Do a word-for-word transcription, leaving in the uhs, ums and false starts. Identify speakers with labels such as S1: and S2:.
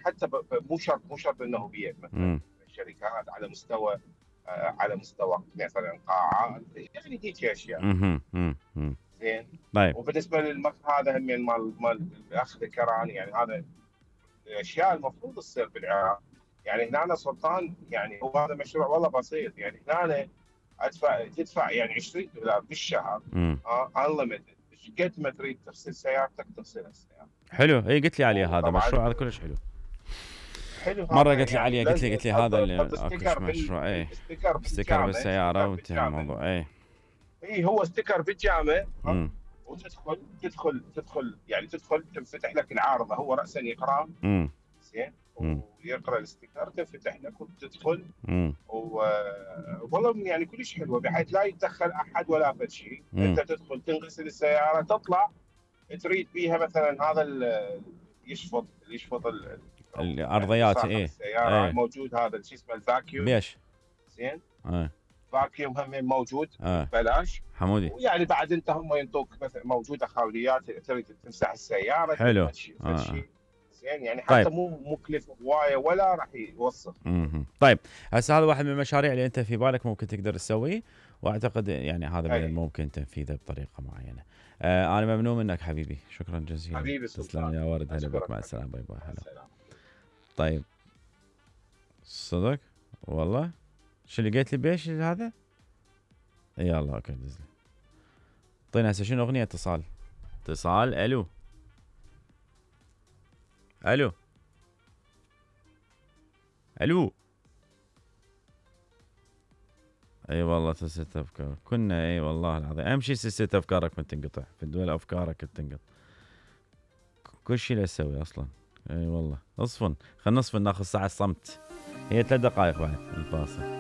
S1: حتى ب... ب... مو شرط مو شرط انه بيئه مثلا شركات على مستوى آه على مستوى مثلا قاعات، يعني هيك اشياء.
S2: اها اها
S1: زين.
S2: طيب.
S1: وبالنسبه للمقهى هذا هم مال مال الاخ ذكراني، يعني هذا الاشياء المفروض تصير بالعراق. يعني هنا سلطان، يعني هو هذا مشروع والله بسيط. يعني هنا ادفع تدفع يعني عشرين دولار بالشهر، اه انليمتد، قد ما تريد تغسل سيارتك تغسل السياره.
S2: حلو، اي قلت لي عليه هذا
S1: وطبعا
S2: مشروع، هذا كلش حلو.
S1: حلو
S2: مره
S1: هذا
S2: قلت لي
S1: يعني
S2: عليه، قلت لي
S1: لازم
S2: قلت لي هذا
S1: تحط
S2: اللي
S1: تحط
S2: اكوش
S1: ستيكر بال
S2: مشروع، اي
S1: ستيكر
S2: ستيكر
S1: بالجامع،
S2: بالسياره
S1: ستيكر
S2: وانتهى
S1: بالجامع.
S2: الموضوع. اي
S1: اي هو ستيكر بالجامع، ها.
S2: امم
S1: وتدخل تدخل تدخل يعني تدخل تنفتح لك العارضه، هو راسا يقرا.
S2: امم
S1: زين.
S2: امم
S1: ويقرا الستيكر، تنفتح لك وتدخل.
S2: امم
S1: و والله يعني كلش حلوه، بحيث لا يتدخل احد ولا فد شيء. انت تدخل تنغسل السياره، تطلع تريد بيها مثلا هذا ال- يشفط يشفط ال- او يعني
S2: الارضيات.
S1: وساخه
S2: اي
S1: السياره
S2: اي
S1: موجود، هذا شو اسمه الفاكيوم.
S2: بيش.
S1: زين.
S2: اي
S1: فاكيوم هم موجود
S2: اي
S1: ببلاش.
S2: حمودي.
S1: ويعني بعد انت هم ينطوك مثلا موجوده خاوليات، تريد تمسح السياره، تريد
S2: حلو.
S1: ما تشيل فد
S2: آه.
S1: شيء. زين. يعني
S2: طيب.
S1: حتى مو مكلف هوايه ولا راح يوسخ.
S2: امم طيب، هسه هذا واحد من المشاريع اللي انت في بالك ممكن تقدر تسويه، واعتقد يعني هذا من
S1: اي
S2: الممكن تنفيذه بطريقه معينه. آه انا ممنون منك حبيبي، شكرا جزيلا.
S1: حبيبي
S2: تسلم
S1: سلطان.
S2: يا ورد، هلا بك،
S1: اشكرك
S2: مع
S1: حبيبي.
S2: السلامه، باي باي،
S1: مع
S2: هلا.
S1: السلامه.
S2: طيب صدق والله، شو اللي قلت لي بيش هذا؟ يلا اوكي دزلي. اعطينا هسه شنو اغنيه؟ اتصال اتصال الو الو الو. اي والله سلسلة افكار كنا، اي والله العظيم اهم شيء سلسلة افكارك ما تنقطع في الدول، افكارك تنقطع كل شيء لا تسوي اصلا. اي والله اصفن، خلينا نصفن ناخذ ساعة صمت، هي ثلاث دقائق بعد الفاصل.